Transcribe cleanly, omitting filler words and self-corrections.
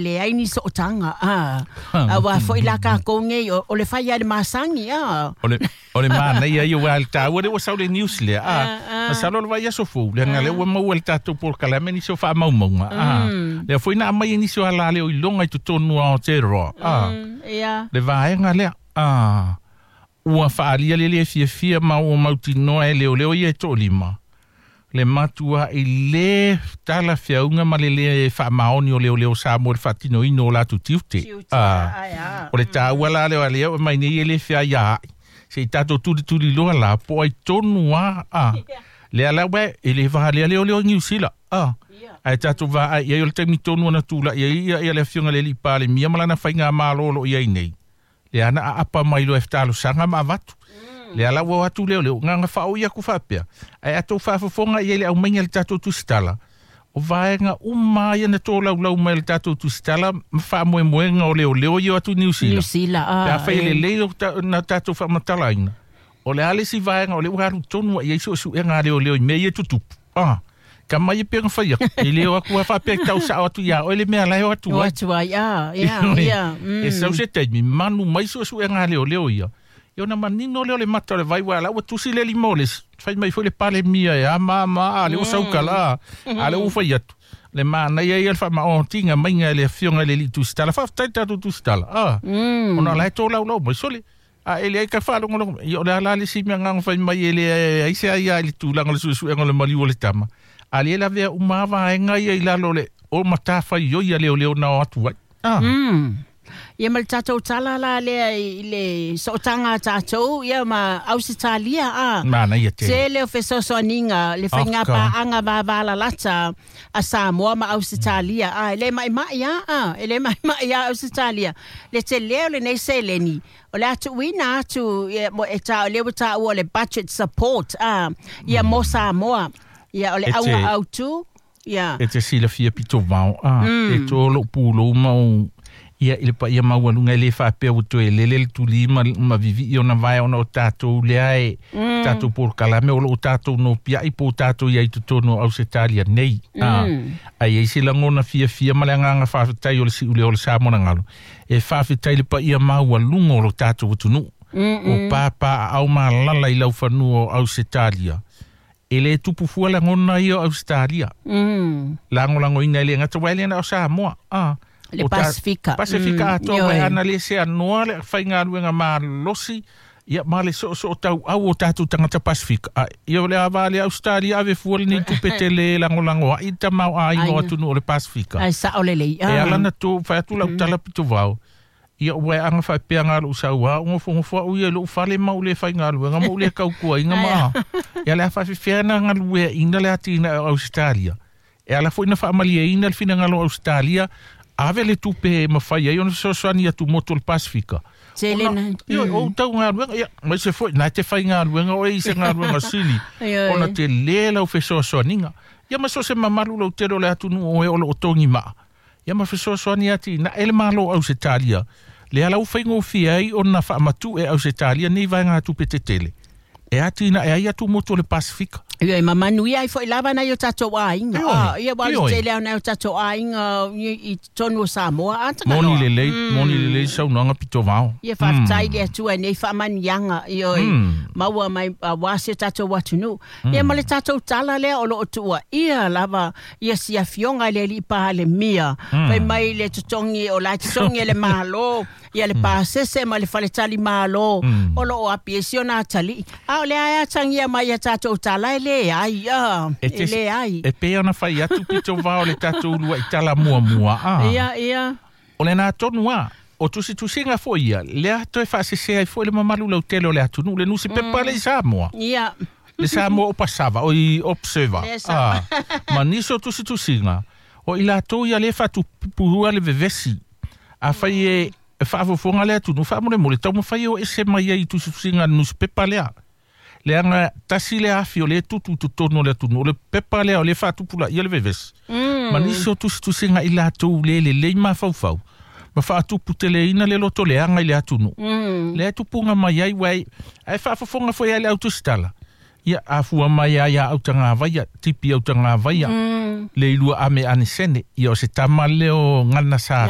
Leai ni sootaga, a auā foi la tatou nei o le fai lava i le masani, a. O le manaia ia aua le taua lea ua sau le news lea, a. Masalo o le vaiaso fou, leaga lea ua maua e le tatou polokalame nisi o faamaumauga, a. Lea foi na aumai e nisi o alaleo iloga i totonu o Aotearoa, a. Le vaega lea, a. Ua faaalia le le fiafia ma ua mautinoa e leoleo ia e toalima le matua'i lē talafeauga ma le lē faamaoni o leoleo Samoa i le faatinoina o latou tiute. A, o le taua la lea o lea ua aumai nei e le feaiaa'i, se i tatou tulituliloa la po o ai tonu lava, a, lea la ua e le valea leoleo i Niu Sila, a, ae tatou vaai i ai o le taimi tonu na tula'i ai ia le Afioga i le Alii Palemia ma lana faigamalo o lo o i ai nei. Lea na aapa mai loa e talosaga ma avatu. Lea la ua o atu leoleo, na ona faaoi atu faapea, ae a tou faafofoga i ai i le aumaiga i le tatou tusitala, o vaega uma lava ia na tolaulau mai e le tatou tusitala ma faamoemoega o leoleo ia o atu i Niu Sila. Niu Sila, ah, Pe afai e lelei na tatou faamatalaina, o le a le isi vaega o lea ua alu tonu i ai suesuega a leoleo i mea ia e tutupu? Ah, tama ia pei ona fai atu, e le o atu lava faapea e tau sao atu ia oe le mea la e o atu ai. O atu ai, ah, ia, ia. E sau se taimi, manu mai suesuega a leoleo ia. Ia ona manino lea o le mata o le vai, aua o la ua tusi le lima o le isi, fai mai foi le Palemia e a ma ma, a lea ua sau tala, a lea ua fai atu. Le manaia ia o le faamaotiga maiga e le Afioga i le Alii Tusitala. Faafetai i le tatou Tusitala, ah, ona o la e tolaulau mai. Sole, A e leai ka faalogologo mai, ia o le a la le isi mea na fai mai e leai se aia i le tulaga o le suesuega o le maliu o le tama, a lea e lavea uma lava vaega ia i lalo o le o matafaioi a leoleo na o atu ai. Ah. Ia ma le tatou tala la lea i le sootaga a tatou ia ma Ausetalia a. Manaia tele. Tele o fesoasoaniga le faiga paaga vavalalata a Samoa ma Ausetalia a e le maimai a a e le maimai a Ausetalia le tele o lenei seleni O le a tuuina atu ia, mo, e tā, lea ua taua o le budget support a, ia mo Samoa. Ia, o le E te- auga autu, ia. E te silafia pito vao, a, e to lou pulou ma ou, ia, i le paia maualuga e le faapea ua toe lele le tuli ma vivii ona vae ona o tatou lea e, tatou polokalame o loo tatou nopiai po o tatou i ai i totonu o Ausetalia nei. A, a i ai se lagona fiafia ma le agaga faafetai o le siuleo o le Samoa na galo, E faafetai le paia maualuga o lo tatou atunuu, o pāpāaao malala i laufanua o Ausetalia. E le tupu fua lagona ia o Ausetalia. Lagolagoina e le gata aua e le na o Samoa. A, Le Pasifika. Pasifika atoa mm, aua ana le seanoa le faigaluega malosi ia ma le soosoo tauau o tatou tagata Pasifika. A, ia o le a va le Ausetalia ave fua lenei tupe tele e lagolago ai le tamaoaiga o atunuu o le Pasifika. Ai sao lelei. E ala ona tu fai atu lau tala pito vao, ia ua e aga faapea nga lou sau a nofonofo au ia i lou fale ma ou le faigaluega ma ou le tautuaina ma ia le a faafefea na galueaina le atinae o Ausetalia. E ala foi na faamalieina le finagalo o Ausetalia ave le tupe e mafai ai ona fesoasoani atu motu o le Pasifika. Tele Ona, na. ioe, o outou galuega, ia, aemaise foi, na e te faigaluega oe i se galuega sili, Ioe. ona tele lau fesoasoaniga. Ia ma so o se mamalu lautele o le atunuu o e o lo o togi maa, ia ma fesoasoani atinae le Malo o Ausetalia, lea la ua faigofie ai ona faamatu'e Ausetalia nei vaegatupe tetele e atinae ai atumotu o le Pasifika. Ioe, ma manuia ai foi lava nai o tatou aiga. Ioe, Ah, ia aua o le ioe. tele lava o nai o tatou aiga i totonu o Samoa. Ah, Moni Tagaloa. lelei, moni lelei saunoaga pito vao. Ia faafetai i le Atua i nei faamanuiaga, ioe, maua mai aua si o tatou atunuu. Ia ma le tatou tala lea o lo o tuuaia lava ia si afioga i le Alii Palemia, fai mai le totogi o la e totogi e le Malo, ia le pasese ma le faletali Malo o lo o api ai si ona atalii. A o lea e atagia mai ia tatou tala e leai, ah, E e te, leai. e pei ona fai atu pito vao le tatou uluai tala muamua, a. Ia, ia. O lena tonu a, o tusitusiga foi ia, lea toe faasese ai foi le mamalu lautele o le atunuu, le nusipepa lea i Samoa. Ia. Le Samoa Opasava, o i Observer, Le Sa- a, ma nisi o tusitusiga, o i latou ia lea e faatupua le vevesi. Afai e faafofoga le atunuu, faamolemole, taumafai e o ese mai ai i tusitusiga a le nusipepa lea. Leaga tasi le afi o lea e tutu i totonu o le atunuu, o le pepa lea o lea e faatupulaia le vevesi. Ma nisi o tusitusiga i latou le lelei mafaufau, ma faatuputeleina le loto leaga i le atunuu. Lea e tupuga mai ai, aua e faafofoga foi lava i le autusitala. Ia afua mai ia ia autagavaia tipi autagavaia le ilua ame anesene ia o se tama lea o gana sa.